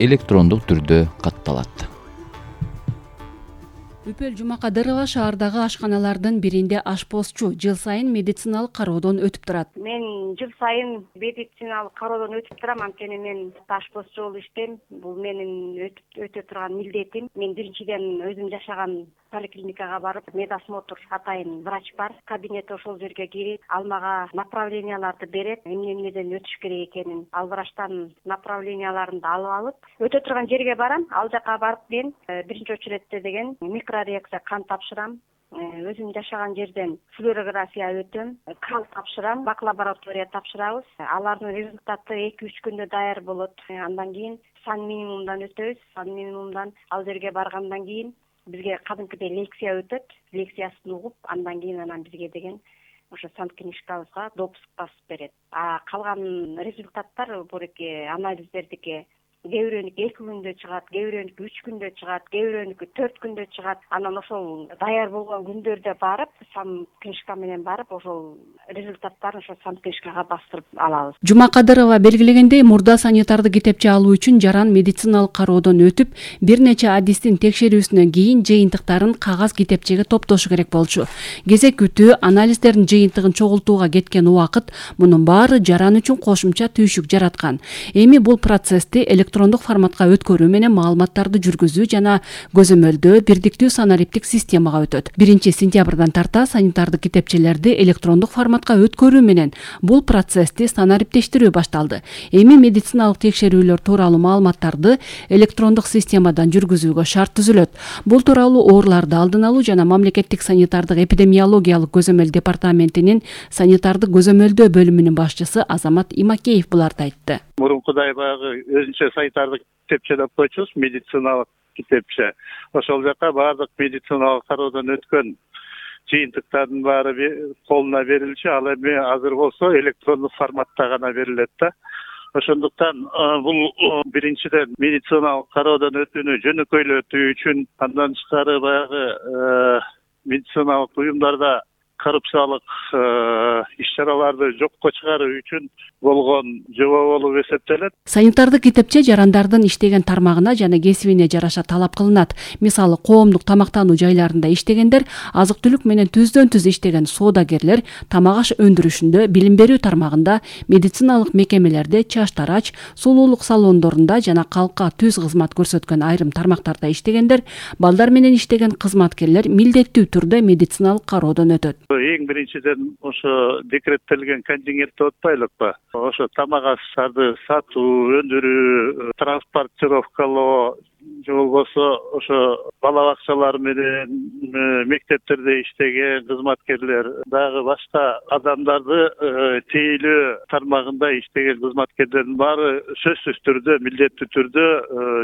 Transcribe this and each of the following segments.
электрондук түрдө катталат. Үпөл Жумакадырова шаардагы ашканалардын биринде ашпозчу, жыл сайын медициналык кароодон өтүп турат. Мен жыл сайын медициналык кароодон өтүп турам, анткени мен ашпозчу болуп иштейм. Бул менин өтө турган милдетим. Мен биринчиден өзүм жашаган поликлиникага барып, медосмотр атайын врач бар. Кабинет ошол жерге кирип, ал мага направленияларды берет, эмнеден өтүш керек экенин. Ал врачтан направленияларын алып алып, өтө турган жерге барам. Ал жака барып мен биринчи очередте деген микрореакция кан тапшырам. Өзүм жашаган жерден флюорография өтөм, кал тапшырам, бак-лаборатория тапшырабыз. Алардын результаты 2-3 күндө даяр болот. Андан кийин сан минимумдан өтөбүз. Сан минимумдан ал жерге баргандан кийин бизге кадимкидей лекция өтөт. Лекциясын угуп, андан кийин бизге деген ошо санкнижкабызга допуск басып берет. Калган результаттар буреки анализдердики кээ бирөөнүкү 2 күндө чыгат, кээ бирөөнүкү 3 күндө чыгат, кээ бирөөнүкү 4 күндө чыгат. Анан ошол даяр болгон күндөрдө барып, санкнижка менен барып, ошол результаттарын ошо санкнижкага бастырып алабыз. Жумакадырова белгилегендей, мурда санитарды китепче алуу үчүн жаран медициналык кароодон өтүп, бир нече адистин текшерүүсүнөн кийин жыйынтыктарын кагаз китепчеге топтошу керек болчу. Кезек күтүү, анализдердин жыйынтыгын чогултууга кеткен убакыт мунун баары жаран үчүн кошумча түйшүк жараткан. Эми бул процессти электрондук форматка өткөрүү менен маалыматтарды жүргүзүү жана көзөмөлдөө бирдиктүү санариптик системага өтөт. 1-сентябрдан тарта санитардык китепчелерди электрондук форматка өткөрүү менен бул процессти санариптештирүү башталды. Эми медициналык текшерүүлөр тууралуу маалыматтарды электрондук системадан жүргүзүүгө шарт түзүлөт. Бул тууралуу ооруларды алдын алуу жана мамлекеттик санитардык эпидемиологиялык көзөмөл департаментинин санитардык көзөмөлдөө бөлүмүнүн башчысы Азамат Имакеев буларды айтты. Мурункудай баягы өзүнчө санитардык китепче деп койчубуз, медициналык китепче. Ошол жака баардык медициналык кароодон өткөн жыйынтыктардын баары колуна берилчү. Ал эми азыр болсо электрондук форматта гана берилет да. Ошондуктан бул биринчиден медициналык кароодон өтүүнү жөнөкөйлөтүү үчүн, андан тышкары баягы медициналык уюмдарда коррупциялык иш-чараларды жокко чыгаруу үчүн болгон жобо болуп эсептелет. Санитардык китепче жарандардын иштеген тармагына жана кесибине жараша талап кылынат. Мисалы, коомдук тамактануу жайларында иштегендер, азык-түлүк менен түздөн-түз иштеген соодагерлер, тамак аш өндүрүшүндө, билим берүү тармагында, медициналык мекемелерде, чач-тарач, сулуулук салондорунда жана калкка түз кызмат көрсөткөн айрым тармактарда иштегендер, балдар менен иштеген кызматкерлер милдеттүү түрдө медициналык кароодон өтөт. Эң биринчиден ошо декреттелген контингент деп атпайлыкпы? Ошо тамак аштарды сатуу, өндүрүү, транспортировкалоо, же болбосо ошо бала бакчалар менен мектептерде иштеген кызматкерлер, дагы башка адамдарды тейлөө тармагында иштеген кызматкерлердин баары сөзсүз түрдө, милдеттүү түрдө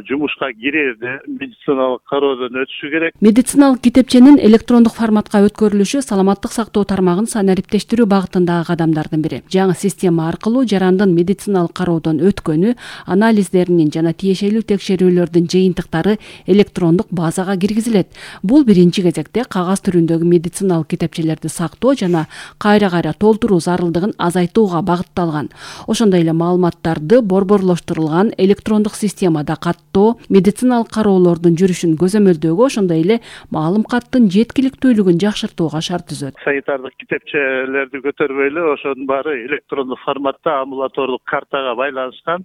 жумушка кирерде медициналык кароодон өтүшү керек. Медициналык китепченин электрондук форматка өткөрүлүшү саламаттык сактоо тармагын санариптештирүү багытындагы кадамдардын бири. Жаңы система аркылуу жарандын медициналык кароодон өткөнү, анализдеринин жана тиешелүү текшерүүлөрдүн жыйынтыктары электрондук базага киргизилет. Бул биринчи кезекте кагаз түрүндөгү медициналык китепчелерди сактоо жана кайра-кайра толтуруу зарылдыгын азайтууга багытталган. Ошондой эле маалыматтарды борборлоштурулган электрондук системада каттоо, медициналык кароолордун жүрүшүн көзөмөлдөөгө, ошондой эле маалым каттын жеткиликтүүлүгүн жакшыртууга шарт түзөт. Санитардык китепчелерди көтөрбөй эле ошонун баары электрондук форматта амбулатордук картага байланышкан.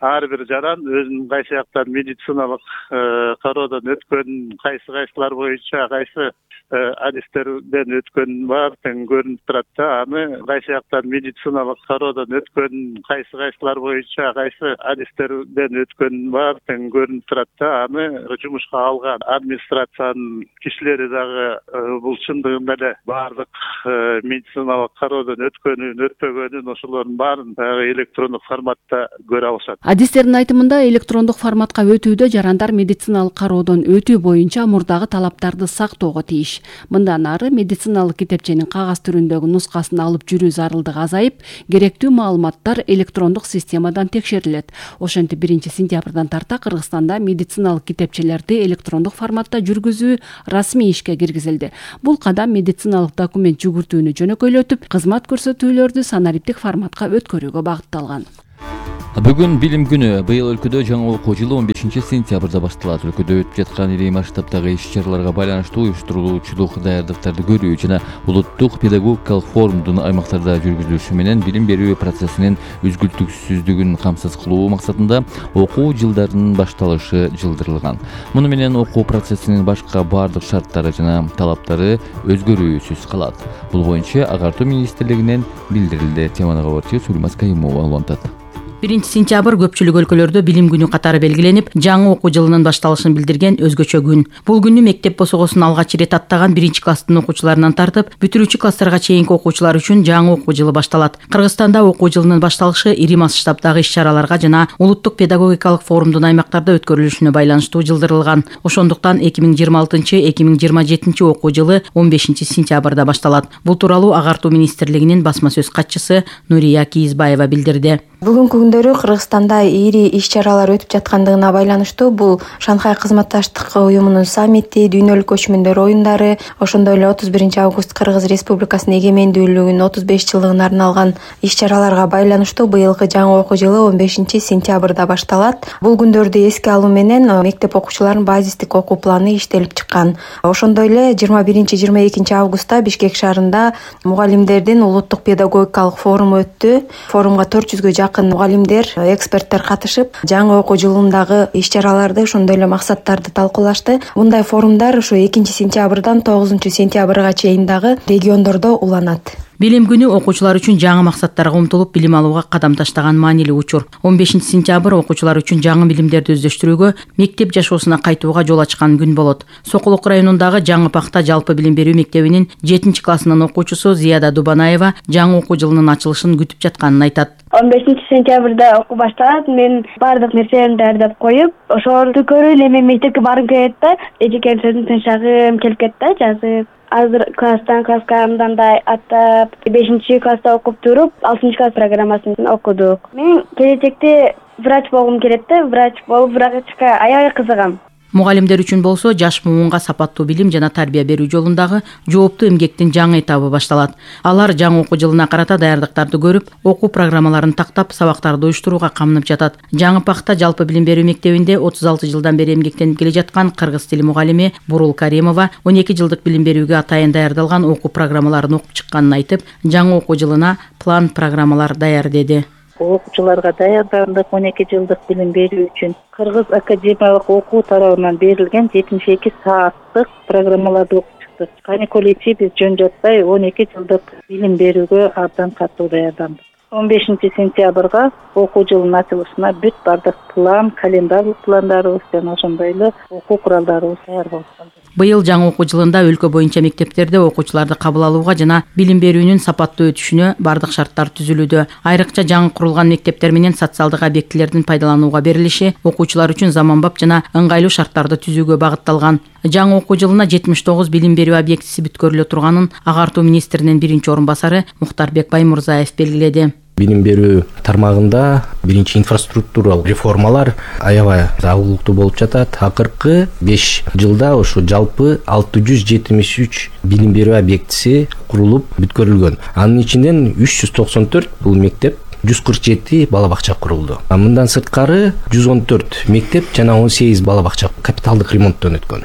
Ар бир жаран өзүнүн кайсы жактан медициналык кароодон өткөн, кайсылар боюнча кайсы адистерден өткөн бар тең көрүнүп турат да. Аны кайсы жактан медициналык кароодон өткөн, кайсылар боюнча кайсы адистерден өткөн бар тең көрүнүп турат да. Аны жумушка алган администрациянын кишилери дагы бул чындыгында эле баардык медициналык кароодон өткөнүн, өтпөгөнүн ошолордун баарын электрондук форматта көрө алышат. Адистердин айтымында электрондук форматка өтүүдө жарандар медициналык кароодон өтүү боюнча мурдагы талаптарды сактоого тийиш. Мындан ары медициналык китепченин кагаз түрүндөгү нускасын алып жүрүү зарылдыгы азайып, керектүү маалыматтар электрондук системадан текшерилет. Ошентип 1-сентябрдан тарта Кыргызстанда медициналык китепчелерди электрондук форматта жүргүзүү расмий ишке киргизилди. Бул кадам медициналык документ жүгүртүүнү жөнөкөйлөтүп, кызмат көрсөтүүлөрдү санариптик форматка өткөрүүгө багытталган. Бүгүн билим күнү. Быйыл өлкөдө жаңы окуу жылы 15-сентябрда башталат. Өлкөдө өтүп жаткан ири масштабдагы иш-чараларга байланыштуу уюштурулуучулук даярдыктарды көрүү жана улуттук педагогикалык форумдун аймактарда жүргүзүлүшү менен билим берүү процессинин үзгүлтүксүздүгүн камсыз кылуу максатында окуу жылдарынын башталышы жылдырылган. Муну менен окуу процессинин башка баардык шарттары жана талаптары өзгөрүүсүз калат. Бул боюнча Агартуу министрлигинен билдирилди. Теманы кабарчы Сулейман Кайымова улантат. 1-сентябрь көпчүлүк өлкөлөрдө билим күнү катары белгиленип, жаңы окуу жылынын башталышын билдирген өзгөчө күн. Бул күнү мектеп босогосун алгач ирет аттаган 1-класстын окуучуларынан тартып, бүтүрүүчү класстарга чейинки окуучулар үчүн жаңы окуу жылы башталат. Кыргызстанда окуу жылынын башталышы ири масштабдагы иш-чараларга жана улуттук педагогикалык форумдун аймактарда өткөрүлүшүнө байланыштуу жылдырылган. Ошондуктан 2026-2027 окуу жылы 15-сентябрда башталат. Бул тууралуу Агартуу министрлигинин басма сөз катчысы Нурия Кийизбаева билдирди. Бүгүнкү күндөрү Кыргызстанда ири иш-чаралар өтүп жаткандыгына байланыштуу бул Шанхай кызматташтык уюмунун саммити, дүйнөлүк көчмөндөр оюндары, ошондой эле 31-август Кыргыз Республикасынын эгемендүүлүгүнүн 35 жылдыгына арналган иш-чараларга байланыштуу быйылкы жаңы окуу жылы 15-сентябрда башталат. Бул күндөрдү эске алуу менен мектеп окуучуларынын базистик окуу планы иштелип чыккан. Ошондой эле 21-22 августта Бишкек шаарында мугалимдердин улуттук педагогикалык форуму өттү. Форумга 400гө жакын мугалимдер, эксперттер катышып, жаңы окуу жылындагы иш-чараларды, ошондой эле максаттарды талкуулашты. Мындай форумдар ушу 2-сентябрдан 9-сентябрга чейин дагы региондордо уланат. Билим күнү окуучулар үчүн жаңы максаттарга умтулуп билим алууга кадам таштаган маанилүү учур. 15-сентябрь окуучулар үчүн жаңы билимдерди өздөштүрүүгө, мектеп жашоосуна кайтууга жол ачкан күн болот. Сокулук районундагы Жаңы Пакта жалпы билим берүү мектебинин 7-классынын окуучусу Зияда Дубанаева жаңы окуу жылынын ачылышын күтүп жатканын айтат. 15-сентябрда окуу башталат. Мен баардык нерсени даярдап коюп, ошону көрүп эле мен мектепке баргым келет да, эжекен сөзүн тынчагым келип кетти да, жазып. Азыр класстан класска мындай аттап, 5-класста окуп туруп, 6-класс программасын окудук. Мен келечекте врач болгум келет да, врач болуп, врачка аябай кызыгам. Мугалимдер үчүн болсо жаш муунга сапаттуу билим жана тарбия берүү жолундагы жооптуу эмгектин жаңы этабы башталат. Алар жаңы окуу жылына карата даярдыктарды көрүп, окуу программаларын тактап, сабактарды уюштурууга камынып жатат. Жаңы Пакта жалпы билим берүү мектебинде 36 жылдан бери эмгектенип келе жаткан кыргыз тили мугалими Бурул Каримова 12 жылдык билим берүүгө атайын даярдалган окуу программаларын окуп чыкканын айтып, жаңы окуу жылына план программалар даяр деди. Окуучуларга даярдандык 12 жылдык билим берүү үчүн Кыргыз академиялык окуу тарабынан берилген 72 сааттык программаларды окуп чыктык. Каникул ичи биз жөн жатпай 12 жылдык билим берүүгө абдан катуу даярдандык. 15-сентябрга окуу жылынын ачылышына бүт бардык план, календарлык пландарыбыз жана ошондой эле окуу куралдарыбыз даяр болуп калды. Быйыл жаңы окуу жылында өлкө боюнча мектептерде окуучуларды кабыл алууга жана билим берүүнүн сапаттуу өтүшүнө бардык шарттар түзүлүүдө. Айрыкча жаңы курулган мектептер менен социалдык объектилердин пайдаланууга берилиши окуучулар үчүн заманбап жана ыңгайлуу шарттарды түзүүгө багытталган. Жаңы окуу жылына 79 билим берүү объектиси бүткөрүлө турганын Агартуу министринин биринчи орун басары Мухтарбек Баймурзаев белгиледи. Билим берүү тармагында биринчи инфраструктуралык реформалар аябай агуулуктуу болуп жатат. Акыркы 5 жылда ушу жалпы 673 билим берүү объектиси курулуп бүткөрүлгөн. Анын ичинен 394 бул мектеп, 147 бала бакча курулду. Мындан сырткары 114 мектеп жана 18 бала бакча капиталдык ремонттон өткөн.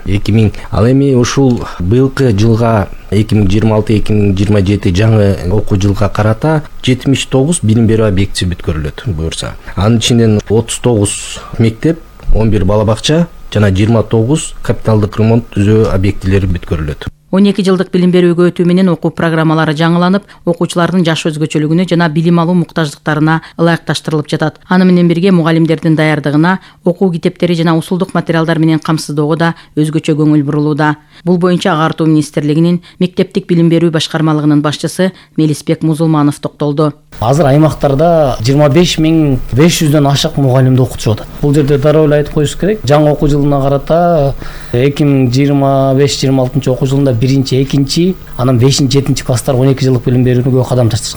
Ал эми ушул быйылкы жылга 2026-2027 жаңы окуу жылга карата 79 билим берүү объектиси бүткөрүлөт буюрса. Анын ичинен 39 мектеп, 11 бала бакча жана 29 капиталдык ремонт түзөө объектилери бүткөрүлөт. 12 жылдык билим берүүгө өтүү менен окуу программалары жаңыланып, окуучулардын жаш өзгөчөлүгүнө жана билим алуу муктаждыктарына ылайыкташтырылып жатат. Аны менен бирге мугалимдердин даярдыгына, окуу китептери жана усулдук материалдар менен камсыздоого да өзгөчө көңүл бурулууда. Бул боюнча Агартуу министрлигинин мектептик билим берүү башкармалыгынын башчысы Мелисбек Музулманов токтолду. Азыр аймактарда 25.500дөн ашык мугалимди окутушуп атат. Бул жерде дароо эле айтып коюш керек. Жаңы окуу жылына карата 2025-26 окуу жылында 1-2, анан 5-7 класстар 12 жылдык билим берүүгө кадам ташташат.